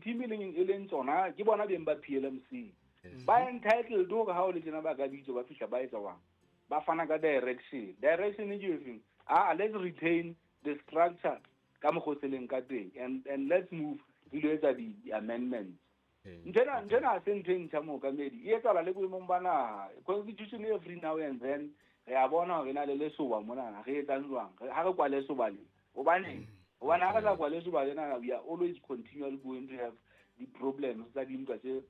di-team e leng tsona ke bona beng ba PLMC, ba entitled hore ha o le tjena ba ka bitso ba fihla ba etsa wang, ba fana ka direction. Direction e ke efeng? Ah, let's retain the structure ka mokgwa o se leng ka teng and let's move re lo etsa di-amendments. Nthwena ha se ntho e ntjha, mookamedi. E etsahala le boemong ba naha. Constitution every now and then re a bona hore e na le lesoba monana. Re etsang jwang ha re kwale lesoba le? Hobaneng? Hobane ha re sa kwale lesoba lena, we are always continually going to have di-problems tsa dintwa tse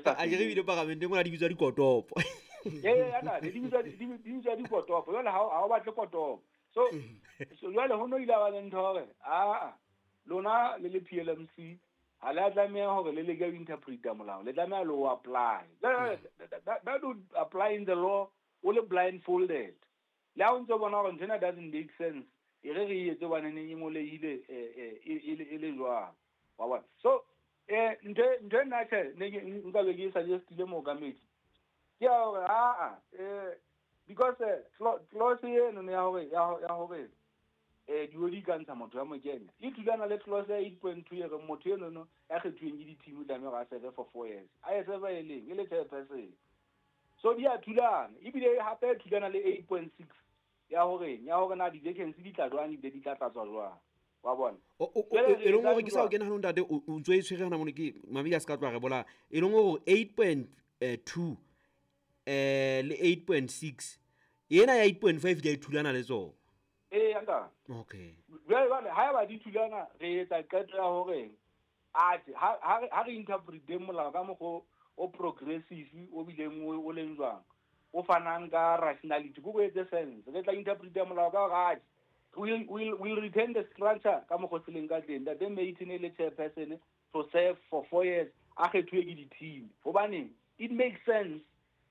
sa A ke re feleng. Bile parlamenteng mona di bitswa dikotopo. Ee, ntate, di bitswa dikotopo. Jwale ha o batle kotopo, so jwale ho no ile ba le ntho hore aa, lona le le PLMC ha le a tlameha hore le leke ho interpreta molao, le tlameha le o apply. Jwale, that would apply in the law o le blindfolded, le ha o ntso bona hore nthwena doesn't make sense, e re re e etse hobaneneng e ngolehile, e le jwang, wa bona? So ntho e nna tjhe ne nka be ke e suggestile, mookamedi, ke ya hore aa, because clause eno ya hore ya hore di ka ntsha motho ya mo kenya e thulana le clause ya 8.2 e reng motho enono ya kgethuweng ke di-team o tlameha hore a serve for 4 years, a e serve e leng e le chairperson. So di a thulana, ebile hape e thulana le 8.6 ya hore na di-vacancy di tla jwang ebile di tla tlatswa jwang, wa bona? Jwale re E leng hore etsang ke sa o jwang? Kena hanong, ntate, o ntso e tshwere hona mono, ke mamedi a se ka tloha re bola. E leng hore 8.2 le 8.6, ena ya 8.5 di a e thulana le tsona. Ee, ntate. Jwale haeba di thulana, re etsa qeto ya hore atjhe, ha re interpreteng molao ka mokgwa o progressive, o bileng o leng jwang, o fanang ka rationality, ko etse sense. Re tla interpreta molao ka hore atjhe, we'll retain the structure ka mokgwa o se leng ka teng. Ntate Maton e le chairperson to serve for 4 years, a kgethuwe ke di-team. Hobaneng? It makes sense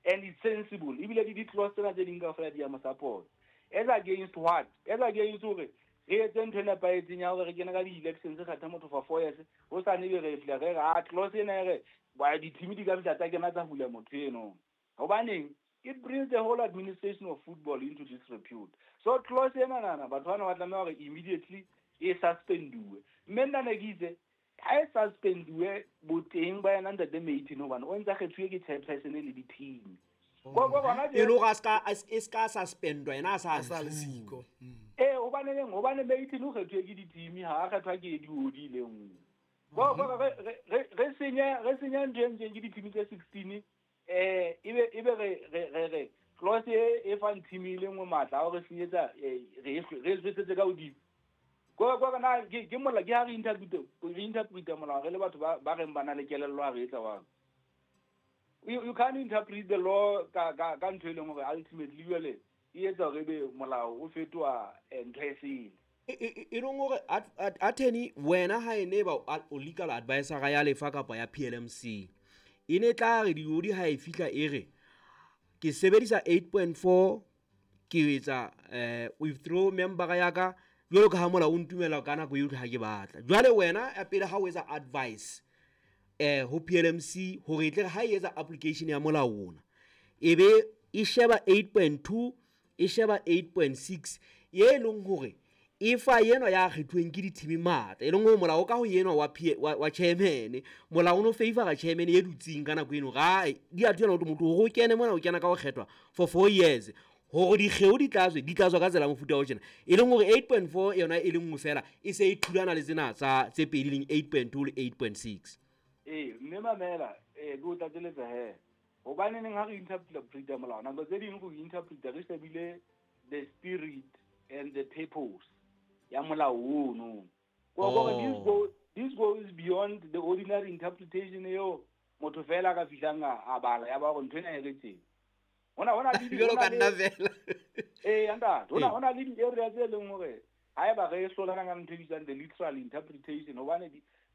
and it's sensible, ebile le di-clause tsena tse ding kaofela di ya mo support. As against what? As against hore re etse ntho e nepahetseng ya hore re kene ka di-elections, kgetha motho for 4 years, ho sane ebe re fihla re re a clause ena e re ba di-team di ka fihla tsa kena tsa hula motho eno. Hobaneng? It brings the whole administration of football into disrepute. So clause ena nana, batho bana ba tlameha hore immediately e suspenduwe. Mme nna ne ke itse ha e suspenduwe boteng ba yena ntate Maton, hobane o ntsa kgethuwe ke chairperson le di-team. Ko bona. E le hore a ska e ska suspendwa yena a sa A sa le ntshuwa. siko. Ee, hobaneng? Hobane Maton o kgethuwe ke di-team, ha a kgethwa ke di-odi le nngwe. Ko re senye ntho e ntseng ke di-team tse 16, ebe re clause e fang team e le nngwe matla a hore senyetsa, re e swetsetse ka hodimo. Ko na ke mola ke ha re interpreta molao re le batho ba reng ba na le kelello, ha re etsa wang. You can't interpret the law ka ntho e leng hore ultimately jwale e etsa hore ebe molao o fetoha ntho e sele. E leng hore attorney, wena ha e ne ba o legal advisor ya lefa kapa ya PLMC, e ne tla re diodi ha e fihla e re ke sebedisa 8.4, ke etsa withdraw member ya ka jwalo ka ha molao o ntumela ka nako yohle ha ke batla. Jwale wena ya pele ha o etsa advice ho PLMC hore e tle re ha e etsa application ya molao ona, e be e sheba 8.2, e sheba 8.6, e leng hore e fa enwa ya kgethuweng ke di-team matla, e leng hore molao ka ho enwa wa chairman, molao o no favora chairman e dutseng ka nako eno. Ga di a thulana hore motho hore o kene mona, o kena ka ho kgethwa for 4 years, hore dikgeo di tla tswa ka tsela ya mofuta o tjena, e leng hore 8.4 yona e le nngwe fela e se e thulana le tsena tsa tse pedi, leng 8.2 le 8.6. Ee, mme mamela, ke o tlatseletsa he, hobaneneng ha re interpreta molao, nako tse ding go interpreta re shebile the spirit and the purpose ya molao ono. Ko this this goes beyond the ordinary interpretation eo motho fela a ka fihlang a bala ya ba hore ntho ena e re teng. Hona le Jwalo ka hona nna fela. Ee, ntate, hona le di-area tse leng hore haeba re hlolana ka ntho e bitswang the literal interpretation, hobane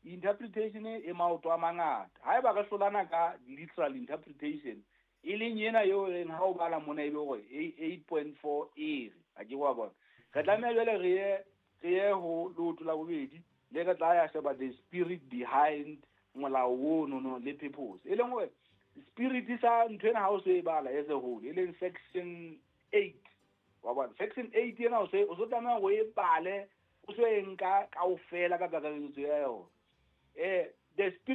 interpretation e maoto a mangata. Haeba re hlolana ka literal interpretation, e leng ena eo reng ha o bala mona e be hore 8.4 e re, ha ke wa bona, re tlameha jwale re ye ho leoto la bobedi le re tla ya sheba the spirit behind molao ono no le purpose, e leng hore spirit sa ntho ena ha o so e bala as a whole, e leng section 8, wa bona? Section 8 ena o so tlameha hore o e bale, o so e nka kaofela ka kakaretso ya yona, the spirit.